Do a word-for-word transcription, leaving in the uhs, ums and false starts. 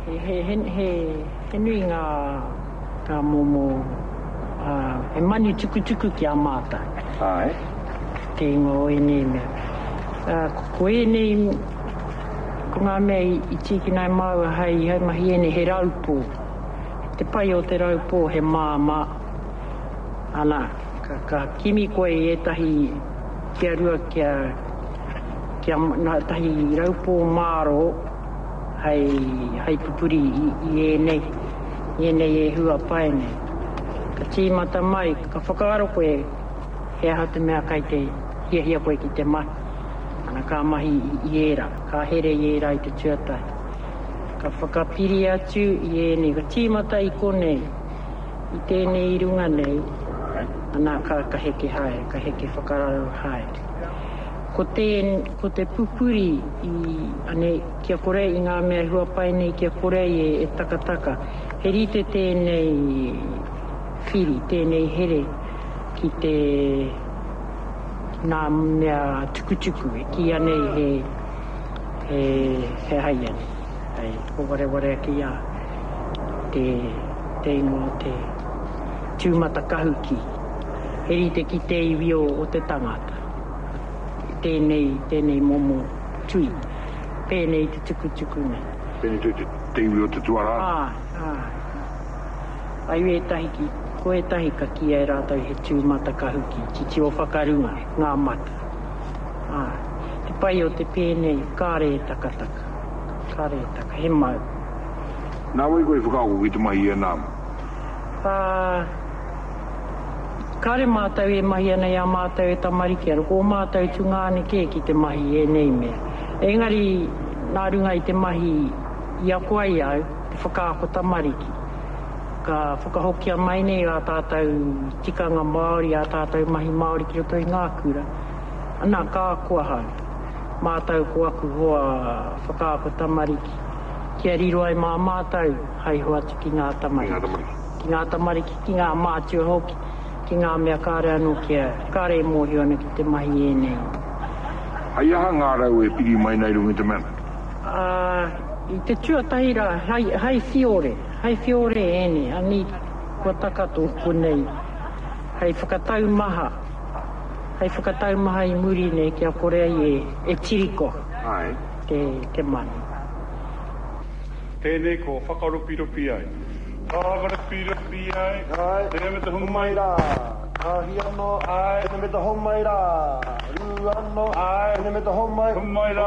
He, he, he, he, he nui ngā, ngā momo, uh, he manu tukutuku ki a mātou. Āe. Te ingoa o ēnei mea. Uh, ko, ko ēnei, ko ngā mea i, i tīkina e māua hei, hei mahi ēnei, he raupō. Te pai o te raupō he māmā. Ana, ka, ka kimi koe i ētahi kia rua kia, kia nā tahi raupō mārō hei, hei pupuri i, i ēnei, i ēnei e hua pai nei. Ka tīmata mai, ka whakaaro koe he aha te mea kai te hiahia koe ki te mahi. Ana, ka mahi i, i ērā, ka here i ērā i te tuatahi. Ka whakapiri atu i ēnei, ka tīmata i konei, i tēnei i runga nei, ana, ka, ka heke haere, ka heke whakararo haere. Ko te, ko te pupuri i, anei, kia kore i ngā mea huapai nei, kia kore e, e takataka. He rite tēnei whiri, tēnei here ki te ngā mea tukutuku, e kīia nei he, he, he hai anei. Hei, ko wareware ake ia te, te ingoa o te tūmatakahuki. He rite ki te iwi o, o te tangata. Tēnei, tēnei momo tui. Pēnei te tukutuku nei. Pēnei te, te, te iwi o te tuarā. Āe, āe. Ai ētahi ki, ko ētahi ka kīia e rātou he tūmatakahuki, titiro whakarunga, ngā mata. Āe. Te pai o te pēnei, kāre e takataka. Kāre e taka, he mau. Nā wai koe i whakaako ki te mahi i ēnā? Ā, kāre mātou e mahi ana i a mātou e tamariki ana, ko ō mātou tungāne kē ki te mahi i ēnei mea. Engari, nā runga i te mahi i ako ai au, te whakaako tamariki, ka whakahokia mai nei ā tātou tikanga Māori, ā tātou mahi Māori ki roto i ngā kura. Ana, ka ako ahau. Mātou ko aku hoa whakaako tamariki, kia riro ai mā mātou hei hoatu ki ngā tamariki. Ki ngā tamariki, ki ngā mātua hoki, ki ngā mea kāre anō kia, kāre e mōhio ana ki te mahi ēnei. Hei aha ngā rau e piri mai nei runga i te mea? Ā, i te tuatahi rā, hei, hei whiore, hei whiore ēnei, anei kua taka tōku nei, hei whakataumaha, hei whakataumaha i muri nei kia kore ai e, e tiriko Āe. te, te manu. Tēnei ko whakaropiropi ai. Whakaropiropi ai, Ai. tēnei me te Homai homai. rā, tahi anō, Ai. tēnei me te homai rā, rua anō, Ai. tēnei me te homai. Homai rā.